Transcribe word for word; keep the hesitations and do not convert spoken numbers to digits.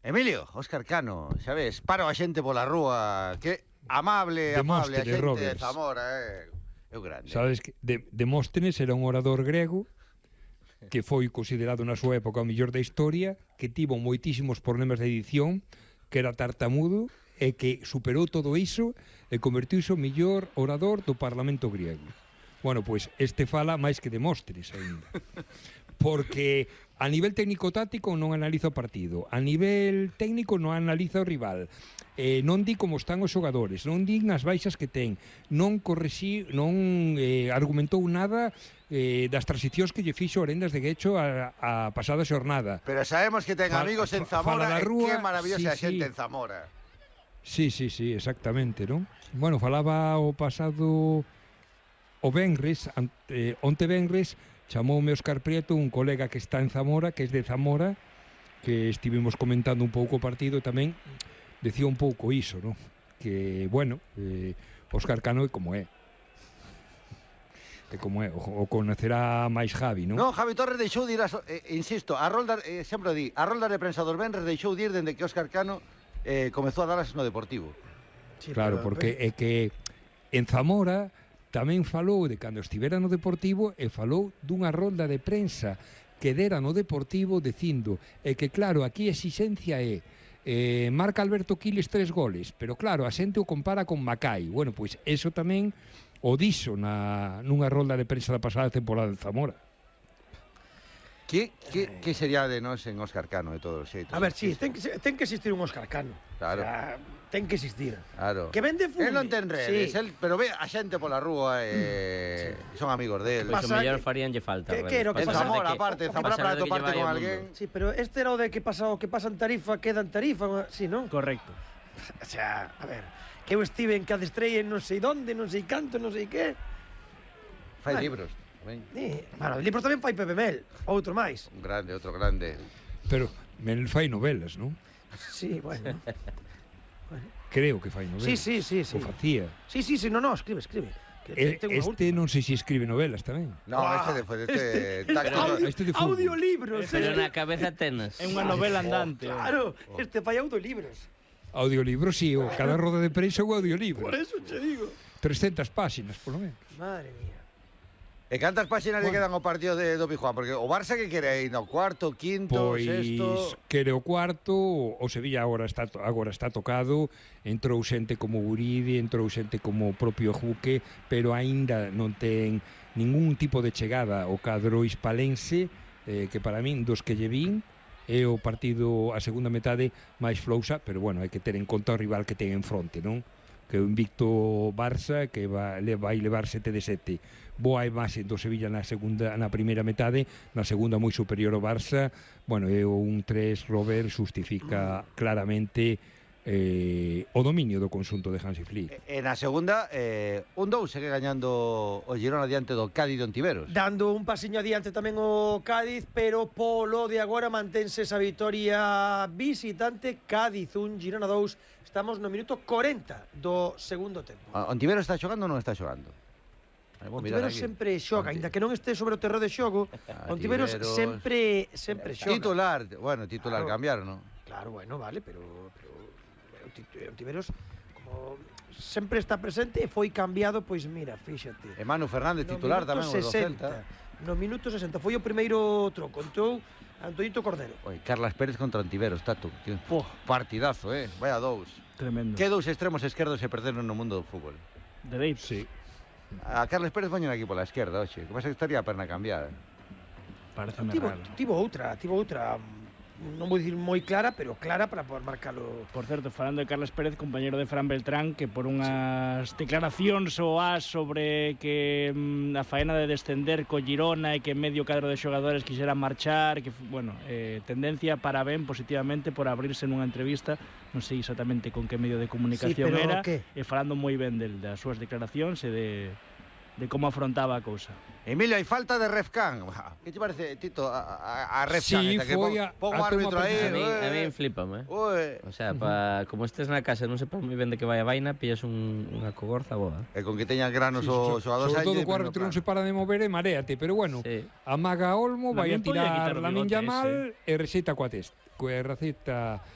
Emilio, Óscar Cano, xa ves, paro a xente pola rúa, que amable, amable a xente de Zamora, eh. É o grande. Sabes que de, Demóstenes era un orador grego que foi considerado na súa época o mellor da historia, que tivo moitísimos problemas de edición, que era tartamudo, e que superou todo iso e convertiuse o mellor orador do Parlamento griego. Bueno, pois este fala máis que Demóstenes ainda. Porque a nivel técnico-táctico non analiza o partido, a nivel técnico non analiza o rival, eh, non di como están os xogadores, non di as baixas que ten, non correxi, non eh, argumentou nada eh, das transicións que lle fixo Orendas de Guecho a, a pasada xornada. Pero sabemos que ten amigos en Zamora e que maravillosa sí, xente sí. en Zamora. Sí, sí, sí, exactamente, non? Bueno, falaba o pasado o venres, ante, onte venres, chamoume Óscar Prieto, un colega que está en Zamora, que é de Zamora, que estivemos comentando un pouco o partido tamén, decía un pouco iso, non? Que, bueno, eh, Óscar Cano é como é. É como é, o, o conocerá máis Javi, non? Non, Javi Torres deixou de ir, a, eh, insisto, a rolda, eh, sempre di, a rolda de prensa dos venres deixou de ir dende que Óscar Cano eh, comezou a darlas no Deportivo. Sí, claro, pero, porque é que en Zamora tamén falou de cando estivera no Deportivo e falou dunha rolda de prensa que dera no Deportivo dicindo é que claro, aquí a exixencia é eh, marca Alberto Quiles tres goles, pero claro, a xente o compara con Macai. Bueno, pois eso tamén o dixo na, nunha rolda de prensa da pasada temporada de Zamora. Que, que, que sería de nós en Óscar Cano de todos os xeitos? A ver, sí, ten que, ten que existir un Óscar Cano. Claro. O sea, ten que existir. Claro. Que vende fume. Él non ten redes, sí. él, pero ve a xente pola rúa e sí. son amigos del. Pois o mellor faríanlle falta. Que, que era o que en Zamora, aparte, en Zamora para toparte con alguén. Sí, pero este era o de que pasa o que pasa en Tarifa, queda en Tarifa, sí, non? Correcto. O sea, a ver, que eu estive en cada estrella en non sei donde, non sei canto, non sei que. Fai libros. Sí, bueno, libros tamén fai Pepe Mel, outro máis. Un grande, outro grande. Pero Mel fai novelas, non? Sí, bueno. bueno. Creo que fai novelas. Sí, sí, sí, sí. O facía. Sí, sí, sí, no, no, escribe, escribe. Que eh, este non sei se escribe novelas tamén. No, ah, este de este, este, este, audio, este de audiolibros. Pero na cabeza tenas. É unha novela andante. Oh, claro, oh. este fai audiolibros. Audiolibros, sí, o cada roda de prensa o audiolibro. Por eso te digo. trescentas páxinas, por lo menos. Madre mía. E cantas páxinas bueno. lle quedan ao partido de do Pijuán? Porque o Barça que quere ir no cuarto, quinto, pois, sexto... quere o cuarto, o Sevilla agora está, agora está tocado, entrou xente como Guridi, entrou xente como o propio Juque, pero aínda non ten ningún tipo de chegada ao cadro hispalense, eh, que para min, dos que lle vin, é o partido a segunda metade máis flousa, pero bueno, hai que ter en conta o rival que ten en fronte, non? Que o invicto Barça que va, le vai levar sete de sete. Boa imaxe do Sevilla na segunda, na primeira metade, na segunda moi superior ao Barça. Bueno, e un tres Robert xustifica claramente eh, o dominio do conxunto de Hansi Flick. E, e na segunda, eh, un dous segue gañando o Girona diante do Cádiz de Ontiveros. Dando un pasiño adiante tamén o Cádiz, pero polo de agora mantense esa vitoria visitante. Cádiz un, Girona dous. Estamos no minuto corenta do segundo tempo. Ontiveros está xogando ou non está xogando? Ontiveros sempre xoga, aínda que non este sobre o terreno de xogo. Ah, Ontiveros sempre sempre xoga. Titular, bueno, titular claro. Cambiar, non? Claro, bueno, vale, pero, pero Ontiveros como sempre está presente e foi cambiado, pois mira, fíxate. E Manu Fernández titular tamén o do Celta. No minuto sesenta foi o primeiro troco, entrou Antoñito Cordero. Oi, Carlas Pérez contra Ontiveros, tato. Oh, partidazo, eh. Vaya dous. Tremendo. Que dous extremos esquerdos se perderon no mundo do fútbol. Dereito. Sí. A Carles Pérez poñen aquí pola esquerda, oxe. Que pasa que estaría a perna cambiada. Parece raro. Tivo outra, tivo outra... non vou dicir moi clara, pero clara para poder marcalo. Por certo, falando de Carles Pérez, compañero de Fran Beltrán, que por unhas sí. declaracións o as sobre que mm, a faena de descender co Girona e que medio cadro de xogadores quixeran marchar, que, bueno, eh, tendencia para ben positivamente por abrirse nunha entrevista, non sei exactamente con que medio de comunicación sí, era, ¿qué? E falando moi ben del, das súas declaracións e de... de como afrontaba a cousa. Emilio, hai falta de Refcan. Que te parece, Tito, a, a, a Refcan? Sí, esta, foi que a... pon, pon árbitro aí. A mí, a mí flipame, eh? Ué. O sea, pa, como estés na casa non sepas moi ben de que vai a vaina, pillas un, unha cogorza boa. E con que teñan granos sí, o xogador sobre todo o árbitro non se para de mover e maréate, pero bueno, sí. Amaga Olmo, vai a tirar Lamine Yamal e receta coa testa. Coa receta